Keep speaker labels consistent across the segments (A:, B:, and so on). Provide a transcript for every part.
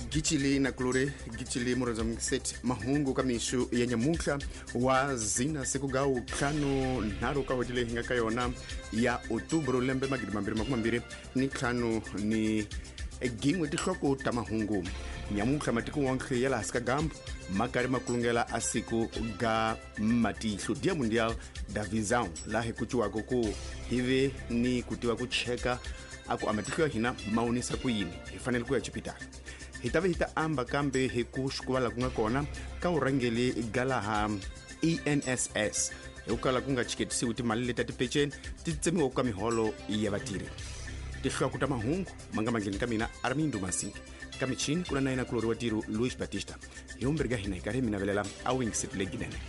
A: Gicili na kulore gicili murhandza mungiseti mahungu ka mixu ya nyamuntlha wa zina siku ga 53 ka n'hweti leyi hi nga ka yona ya otubro lembe 2025 ni gin'we. Tinhloko ta mahungu nyamuntlha: matiko wonke ya laha hansi ka gambu ma karhi ma kulungela a siku ga matihlo, Dia Mundial da Visão, laha hi kuciwaka ku hi ve ni ku tiva ku cheka a ku a matihlo ya hina ma onisa ku yini, hi fanele ku ya xipitali. Hi ta ve hi ta amba kambe hi ku xikuva laha ku nga kona ka vurhangeli ga laha ENSS, hi ku kala ku nga chiketisiwi timali leti ta tipeceni ti tsemiwaka ka miholo ya vatirhi. Tinhloko ta mahungu ma nga mandleni ka mina Armindo Masingi, ka michini ku na na yena kulori wa tiro Luis Batista. Hi vumbirhi ka hina hi karhi hi mi navelela a wingiseti leginene.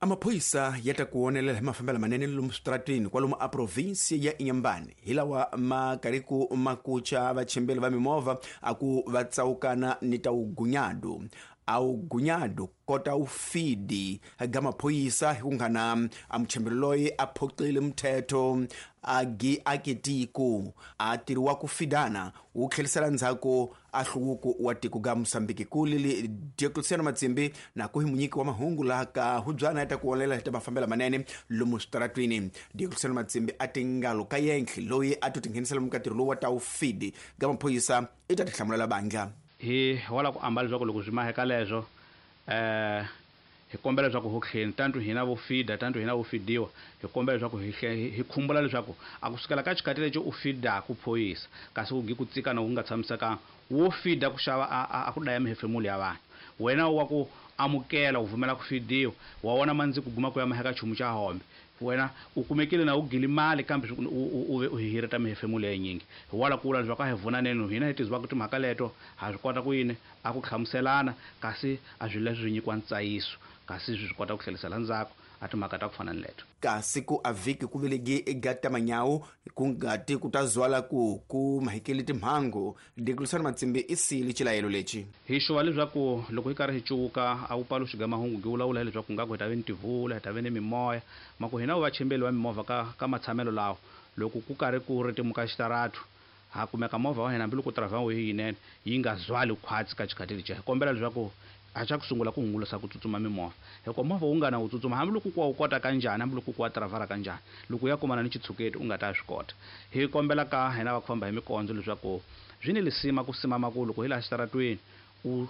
A: Amaphoyisa ya ta ku onelela hi mafambelo manene lomu switarateni kwalomu a provinsi ya Inhambane, hi lawa ma karhi ku ma kucha vachimbeli va mimovha a ku va tsawukana ni ta wugunyado a wugunyado kota wu fidi ga maphoyisa, hi ku nghana a muchembeli loyi a phoqile mthetho a gi akitiko a tirhiwa ku fidana wu tlhelisela ndzhaku a hluvuko wa tiko ga Mosambiki. Ku lili Diocleciano Matsimbi na ku hi munyiki wa mahungu laha ka hubyana ya ta ku olela hi ta mafambelo manene lomu switaratwini. Diocleciano Matsimbi a tingalo ka yenhle loyi a to tinghenisela mukatirhi lowu wa ta wu fidi ga maphoyisa i ta tihlamulela bandla.
B: Hi wala ku ambala leswaku loko swi maheka leswo hi kombela leswaku ho tlheni tantu hina vo fida, tantu hina vo fidiwa, hi kombela leswaku hi khumbula leswaku a ku sukela ka xikati lexi u fidaku phoyisa, kasi ku gi ku tsikana ku nga tshamisekanga wo fida ku xava a ku daya mihefemulo ya vanhu. Wena wa ku amukela u vumela ku fidiwa, wa vona mandzi ku guma ku ya maheka chumu xa hombe, wena u kumekile na u gili mali, kambe u ve u hihireta mihefemulo ya yinyingi. Hi wala ku vula leswaku a hi vunaneni hina hi tizivaka timhaka leto, ha swi kota ku yini a ku hlamuselana, kasi a swilo leswi swi nyikiwa ntsayiso, kasi swi kota ku tlhelisela ndzhaku a timhaka ta ku fana ni leto.
A: Kasi ku a vhiki ku velegi ega manyawu ku nga ti ku ta zwala ku ku mahekeli timhangu. Dikulisana Matsimbi i sili xilayelo lexi.
B: Hi xuva leswaku loko hi karhi hi cuvuka a wu paluxi ga mahungu gi vulavula hi leswaku ngaku hi ta ve ni tivula, hi ta ve ni mimoya ma ku hina vachembeli va mimovha ka matshamelo lawa, loko ku karhi ku ritimuka xitaratu, ha kumeka movha wa hina, hambiloko driver wa yinene yi nga zwali khwatsi ka xikhathi lexiya. Hi kombela leswaku a xa ku sungula ku hungusa ku tsutsuma mimovha, hikuva movha wu nga na wu tsutsuma, hambiloko ku wa wu kota kanjhani, hambiloko ku wa tiravhara kanjhani, loko u ya kumana ni xitshuketi u nga ta swi kota. Hi kombela ka hina va ku famba hi mikondzo leswaku swi ni lisima ku simama ku loko hi laha xitaratweni u